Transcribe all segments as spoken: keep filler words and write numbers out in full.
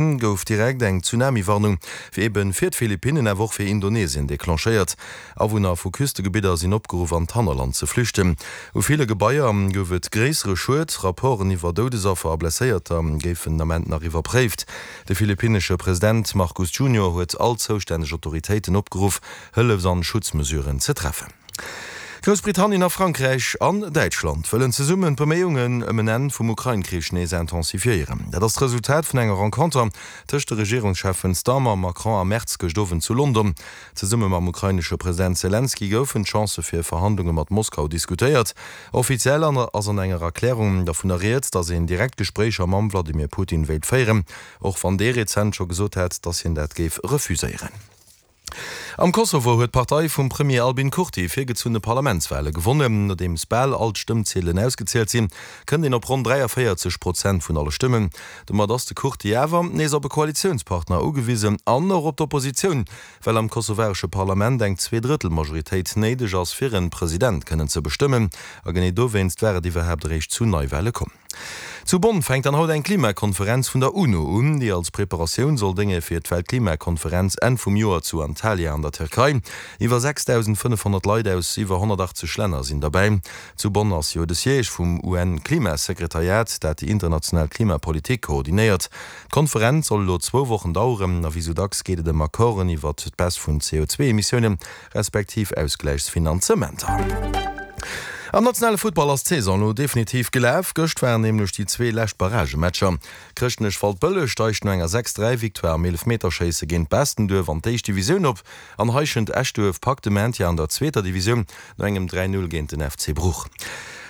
Gouf direkt eng Tsunami-Warnung fir eben fir d'Philippinnen, awer och fir Indonesien declenchéiert. Awunner vu Küstegebidder sinn opgeruff an d'Hannerland ze flüchten. U ville Gebaier gouf et gréissere Schued. Rapporten iwwer Doudesaffer a Blesséierter géifen den Ament nach iwwerpréift. De philippinnesche President Marcos Junior huet all zoustänneg Autoritéiten opgeruff, Hëllefs an Schutzmesuren ze treffen. Groussbritannien a Frankräich an Däitschland wëllen zesummen d'Beméiungen ëm en Enn vum Ukrain-Krich nees intensifiéieren. Dat ass d'Resultat vun enger Renconter tëscht de Regierungscheffen Starmer, Macron a Merz gëscht Owend zu London. Zesumme mam ukrainesche President Selenskyj goufen d'Chancë fir Verhandlunge mat Moskau diskutéiert. Offiziell ass an enger Erklärung dovunner rieds, datt een direkt Gespréicher mam Wladimir Putin wéilt féieren, och wann dee rezent scho gesot hat, datt hien dat géif refuséieren. Am Kosovo huet d'Partei vum Premier Albin Kurti virgezunne Parlamentswale gewonnen. Nodeems bal all d'Stëmmziedelen ausgezielt sinn, kënnt een op ronn dräiavéierzeg Prozent vun alle Stëmmen. Domat ass de Kurti awer nees op e Koalitiounspartner ugewisen an och op d'Oppositioun, well am kosovaresche Parlament eng Zweedrëttel-Majoritéit néideg ass, fir en President kënnen ze bestëmmen. A genee dowéinst war et iwwerhaapt eréischt zu Neiwale komm. Zu Bonn fänkt dann haut eng Klimakonferenz vun der UNO un, déi als Preparatioun soll dénge fir d'Weltklimakonferenz Enn vum Joer zu Antalya an der Tierkei. Iwwer sechsdausendfënnefhonnert Leit aus iwwer honnertachtzeg Länner sinn derbäi. Zu Bonn ass jo de Siège vum UN-Klimasekretariat, dat déi international Klimapolitik koordinéiert. D'Konferenz soll elo zwou Wochen daueren a wéi sou dacks geet et ëm Accorden iwwert d'Baisse vun C O zwee Emissiounen, respektiv Ausgläichsfinanzementer. Am nationale Futtball ass d'Saison elo definitiv gelaf. Gëscht waren nämlech déi zwee lescht Barragematcher. Chrëschtnech-Waldbëlleg steigt no enger sechs dräi Victoire am Eelefmeterschéisse géint Baastenduerf an d'éischt Divisioun op an Heischent-Eschduerf packt de Maintien an der zweeter Divisioun no engem dräi null géint den F C Bruch.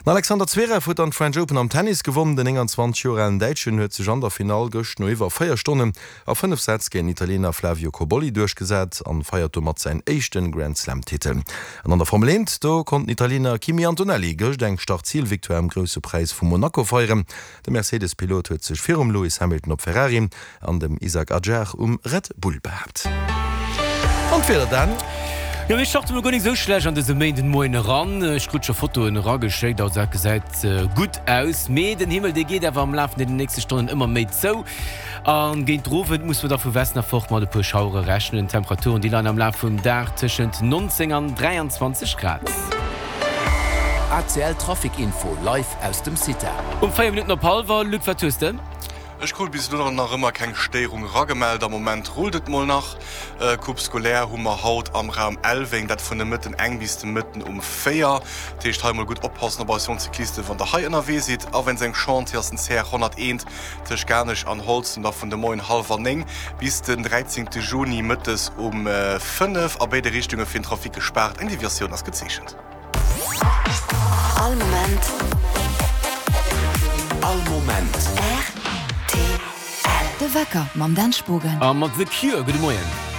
Den Alexander Zverev huet dann d'French Open am Tennis gewonnen. Den nénganzwanzeg Joer alen Däitschen huet sech an der Finall gëscht no iwwer véier Stonnen a fënnef Sätz géint den Italiener Flavio Cobolli duerchgesat an feiert domat säin éischte Grand Slam Titel. An an der Formel eent, do konnt den Italiener Kimi Antonelli gëscht eng Start-Zil-Victoire am Grousse Präis vu Monaco feieren. De Mercedes-Pilot huet sech virum Lewis Hamilton op Ferrari an dem Isack Hadjar um Red Bull behaapt. An d'Wieder dann? Jo, mir starte mol guer nik esou schlecht an dëse Méindenmoien eran. Ech krut scho Fotoen erageschéckt, also dat gesäit gutt aus. Mee den Himmel, dee geet awer am Laf vun den nächste Stonnen ëmmer méi zou. A géint den Owend muss mer da vu Westen erfort mat e puer Schauere rechnen. D'Temperaturen, déi leien am Laf vum Dag tëschent neunzéng an dräianzwanzeg Grad. A C L Trafic Info live aus dem CITA. Um véier Minutten op hallwer, Luc, wat hues de? Ech krut bis elo nach ëmmer keng Stéierung eragemellt. Am Moment rullt et mol nach. Coupe scolaire hu mer haut am Raum Elweng, dat vun de Mëtten eng bis de Mëtten um véier. Dat heescht hei mol gutt oppassen op eis jonk Cyclisten, wann der hei ënnerwee sidd. A wéinst engem Chantier ass den C R honnerteent tëscht Garnech an Holzem da vun de Moien hallwer néng bis den dräizéngte Juni mëttes um fënnef a béide Richtunge fir den Trafic gespaart. Eng Deviatioun ass gezeechent. All Moment. All Moment. R T L. De Wecker mam Dan Spogen. A mat The Cure. Gudde Moien.